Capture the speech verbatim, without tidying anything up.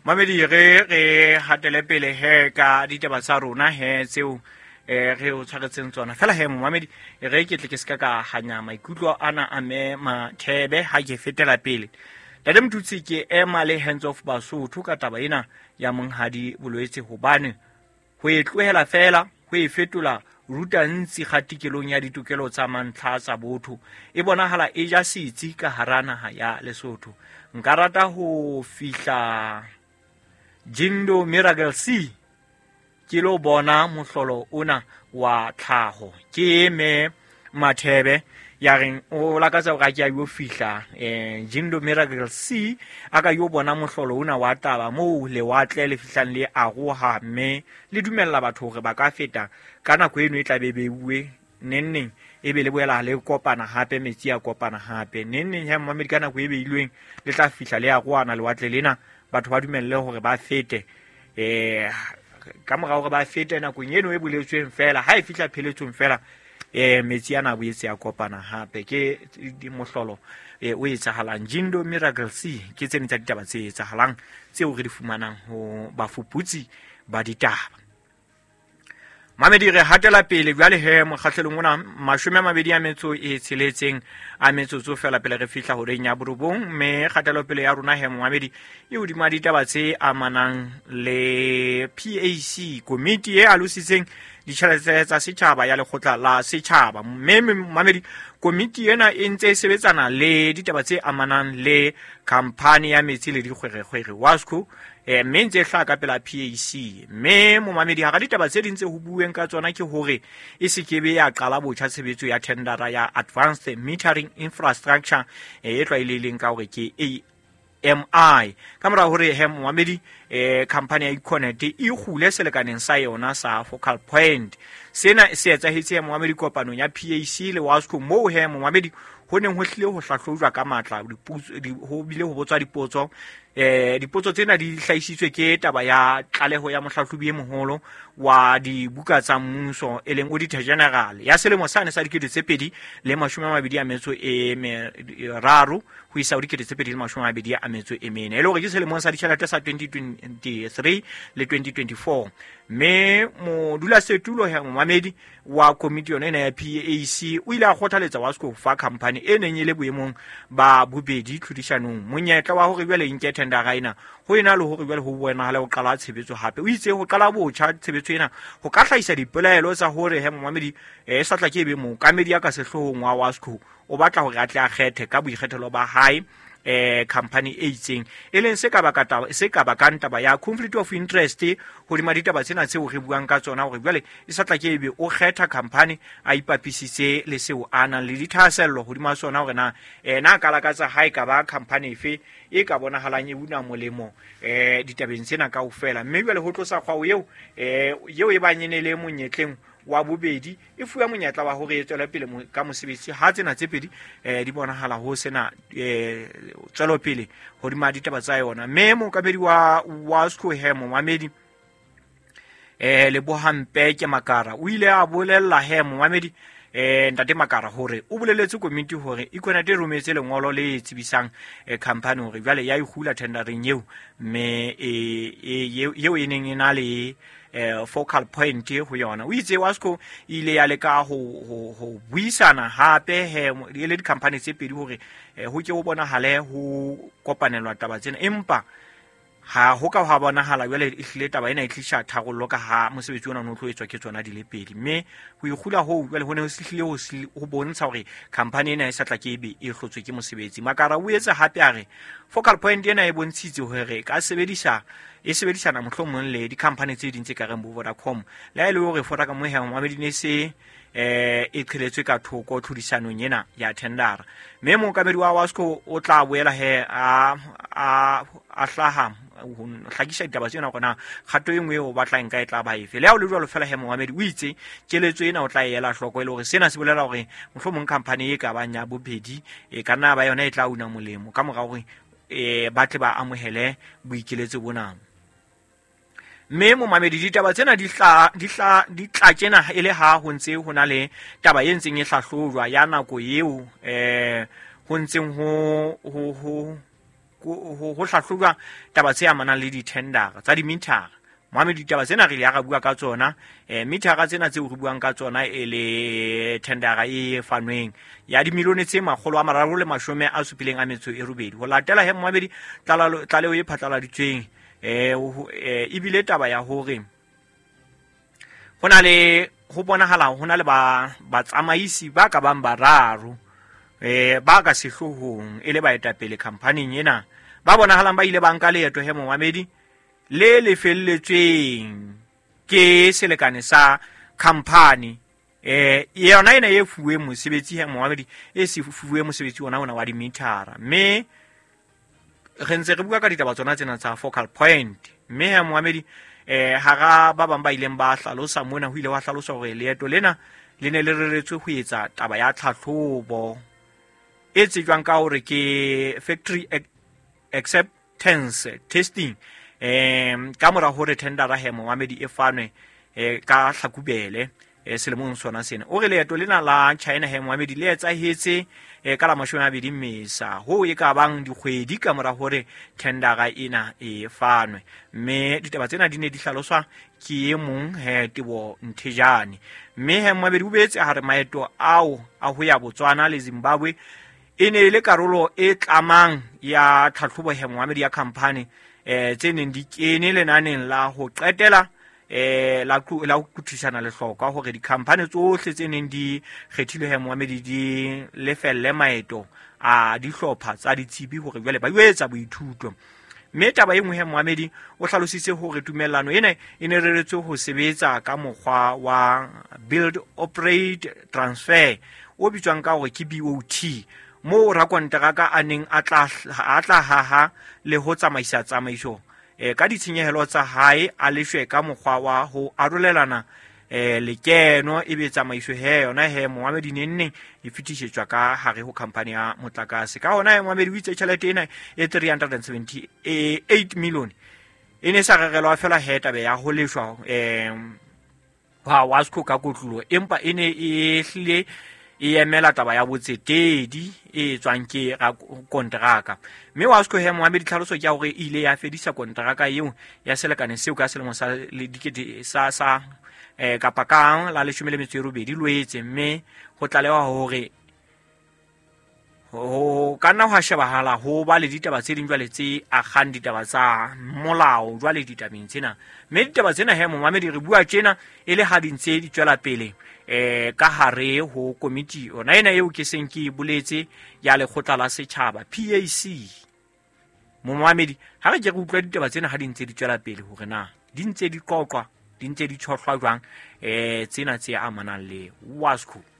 Mamedi, re re hatele pele he ka ditaba tsa rona he tseo eh re o tshwaretseng tsona. Fela he momamedi, re ke tle ke ska ka hanya maikutlo ana a me Mathebe ha ke fetela pele. Ntate Motutsi, ke ema le Hands of Basotho ka taba ena ya monghadi Bolwetse, hobane ho e tlohela fela ho e fetola ruta ntsi kgatikelong ya ditokelo tsa mantlha tsa botho e bonahala e ja setsi ka hara naha ya Lesotho. Nka rata ho fihla Jindo Miracle C ke lo bona mohlolo ona wa tlhaho. Ke me Mathebe ya reng o lakatsa hore a ke a yo fihla eh Jindo Miracle C a ka yo bona mohlolo ona wa taba moo lewatle le fihlang le aroha mme le dumella batho hore ba ka feta ka nako eno e tla be beuwe neng neng, e be le boela le kopana hape, metsi a kopana hape neng neng. Ha mmamedi ka nako e beilweng le tla fihla le arohana lewatle lena, batho ba dumelle hore ba fete eh ka mora hore ba fete nakong eno e boletsweng fela. Ha e fihla pheletsong fela, eh metsi ana a boetse a kopana hape. Ke mohlolo eh o etsahalang Jindo Miracle C. Ke tsene tsa ditaba tse etsahalang tseo re di fumanang ho bafuputsi ba ditaba. Mamedi, re hatela pele jwale he mokgahlelong ona mashome a mabedi a metso e tsheletseng a metsotso fela pele re fihla horeng ya borobong, mme kgatelopele ya rona he momamedi e hodima ditaba tse amanang le P A C, komiti e alositseng ditjhelete tsa setjhaba ya lekgotla la setjhaba. Mme mamedi, komiti ena e ntse e sebetsana le ditaba tse amanang le khampani ya metsi le dikgwerekgwere WASCO, eh mme ntse e hlaha ka pela P A C. Mme momamedi, hara ditaba tse ding tse ho bueng ka tsona ke hore e se kebe ya qala botjha tshebetso ya tendera ya Advanced Metering Infrastructure e tlwaelehileng ka hore ke A M I, ka mora hore he momamedi eh company ya Econet e kgule selekaneng sa yona sa focal point. Sena se etsahetse he momamedi kopanong ya P A C le WASCO, moo he momamedi ho neng ho hlile ho hlahlojwa ka matla, ho bile ho botswa dipotso. eh dipotso tsena di hlahisitswe ke taba ya tlaleho ya mohlahlobi e moholo wa dibuka tsa mmuso, e leng Auditor General, ya selemo sane sa dikete tse pedi le mashome a mabedi a metso e meraro ho isa ho dikete tse pedi le mashome a mabedi a metso e mene, e le hore ke selemong sa ditjhelete sa twenty twenty-three le twenty twenty-four. Mme modulasetulo he momamedi wa komiti yona ena ya P A C o ile a kgothaletsa WASCO ho fa company e neng e le boemong ba bobedi tlhodisanong monyetla wa hore jwale nke tendera ena ho ena le hore jwale ho bonahale ho qala tshebetso hape. O itse ho qala botjha tshebetso ena ho ka hlahisa dipelaelo tsa hore he momamedi e sa tla ke ebe mookamedi ya ka sehloohong wa WASCO o batla hore a tle a kgethe ka boikgethelo ba hae eh company e itseng, e leng se ka baka taba se ka bakang taba ya conflict of interest hodima ditaba tsena tseo re buang ka tsona, hore jwale e sa tla ke ebe o kgetha company a ipapisitse le seo a nang le dithahasello hodima sona, hore na ena ka lakatsa ha e ka ba company efe e ka bonahalang e una molemo eh ditabeng tsena kaofela. Mme jwale ho tlosa kgwao eo eh eo e bang e ne le monyetleng wa bobedi e fuwa monyetla wa hore e tswele pele ka mosebetsi ha tsena tse pedi eh di bonahala ho sena eh tswelopele hodima ditaba tsa yona. Mme mookamedi wa WASCO he momamedi eh Lebohang Peke Makara o ile a bolella he momamedi eh ntate Makara hore o boleletse komiti hore Econet e rometse lengolo le tsebisang eh, company hore jwale ya ikgula tendereng eo, mme eo e neng e na le eh focal point ho yona. O itse WASCO ile ya leka ho ho ho buisana hape he e le di-company tse pedi hore ho ke ho bonahale ho kopanelwa taba tsena, empa ha ho ka ha bonahala jwale e hlile taba ena e tlisha tharollo ka ha mosebetsi ona o no tlo etswa ke tsona di le pedi. Mme ho ikgula hoo jwale ho ne ho hlile ho bontsha hore company ena e sa tla ke ebe e hlotswe ke mosebetsi. Makara o etse hape a re focal point ena e bontshitse hore ka sebedisa e sebedisana mohlomong le di-company tse ding tse ka reng bo Vodacom, le ha e le hore Vodacom he momamedi ne se eh e qheletswe ka thoko tlhodisanong ena ya tendera. Mme mookamedi wa WASCO o tla boela he a a a hlaha ho hlakisa ditaba tsena hore na kgato e nngwe o batlang nka e tla ba efe. Le ha o le jwalo fela he momamedi, o itse keletso ena o tla e ela hloko, e le hore sena se bolela hore mohlomong company e ka bang ya bobedi e ka nna ba yona e tla una molemo ka mora hore eh ba tle ba amohele boikeletso bona. Mme momamedi, ditaba tsena di hla di hla di tla tjena e le ha ho ntse ho na le taba e ntseng e hlahlojwa ya nako eo eh ho ntseng ho ho ho ho hlahlojwa taba tse amanang le di-tendera tsa dimithara. Moamedi, ditaba tsena re ile ra bua ka tsona, eh mithara tsena tseo re buang ka tsona e le tendera e fanweng ya dimilione tse makgolo a mararo le mashome a supileng a metso e robedi. Ho latela he moamedi tlaleho e phatlaladitsweng eh ebile taba ya hore ho na le ho bonahala ho na le ba batsamaisi ba ka bang bararo eh ba ka sehloohong e le baetapele khamphaning ena ba bonahalang ba ile ba nka leeto he moamedi le lefelletsweng ke selekane sa khampani eh yona ena e fuwe mosebetsi he moamedi e se fuwe mosebetsi ona ona wa dimithara. Mme re ntse re bua ka ditaba tsona tsena tsa focal point. Mme he moamedi eh hara ba bang ba ileng ba hlalosa mona ho ile wa hlalosa hore leeto lena le ne le reretswe ho etsa taba ya tlhahlobo e tsejwang ka hore ke factory acceptance testing eh ka mora hore tendera he moamedi e fanwe eh ka Hlakubele eh selemong sona sena. O re leeto lena la China he moamedi le etsahetse eh ka la mashome a mabedi Mmesa ho e ka bang dikgwedi ka mora hore tendera ena e fanwe. Mme ditaba tsena di ne di hlaloswa ke e mong he Tebo Nthejane. Mme he moamedi o boetse a re maeto ao a ho ya Botswana le Zimbabwe e ne e le karolo e tlamang ya tlhahlobo he moamedi ya khampani eh tse neng di kene lenaneng la ho qetela eh la la ho kuthishana lehlokwa hore dikhampani tsohle tse neng di kgethilwe he moamedi di lefelle maeto a dihlopha tsa ditsebi hore jwale ba etsa boithuto. Mme taba e nngwe he moamedi o hlalositse hore tumellano ena e ne reretswe ho sebetsa ka mokgwa wa build operate transfer o bitswang ka hore ke B O T, moo rakonteraka a neng a tla a tla haha le ho tsamaisa tsamaiso eh ka ditshenyehelo tsa hae a leshwe ka mokgwa wa ho arolelana eh lekeno ebe tsamaiso he yona he moamedi nenneng e fetisetswa ka hare ho khampani ya motlakase. Ka hona he moamedi o itse tjhelete ena e three hundred seventy-eight million e ne sa rerelwa fela he taba ya ho leshwa eh ha Wasco ka kotlolo, empa e ne e hlile e emela taba ya botsetedi e tswang ke kontraka. Mme Wasco he moamedi tlhaloso ke ya hore e ile ya fedisa kontraka eo ya selekane seo ka selemo sa le dikete sa sa eh kapa kang la leshome le metso e robedi Loetse. Mme ho tlalewa hore ho ka nna hwa shebahala ho ba le ditaba tse ding jwale tse akgang ditaba tsa molao jwale ditabeng tsena. Mme ditaba tsena he moamedi re bua tjena e le ha di ntse di tswela pele eh ka hare ho komiti yona ena eo ke seng ke boletse ya lekgotla la setjhaba P A C. Moamedi ha re ke re utlwa ditaba tsena ha di ntse di tswela pele hore na di ntse di qoqwa di ntse di tshohlwa jwang eh tsena tse amanang le Wasco.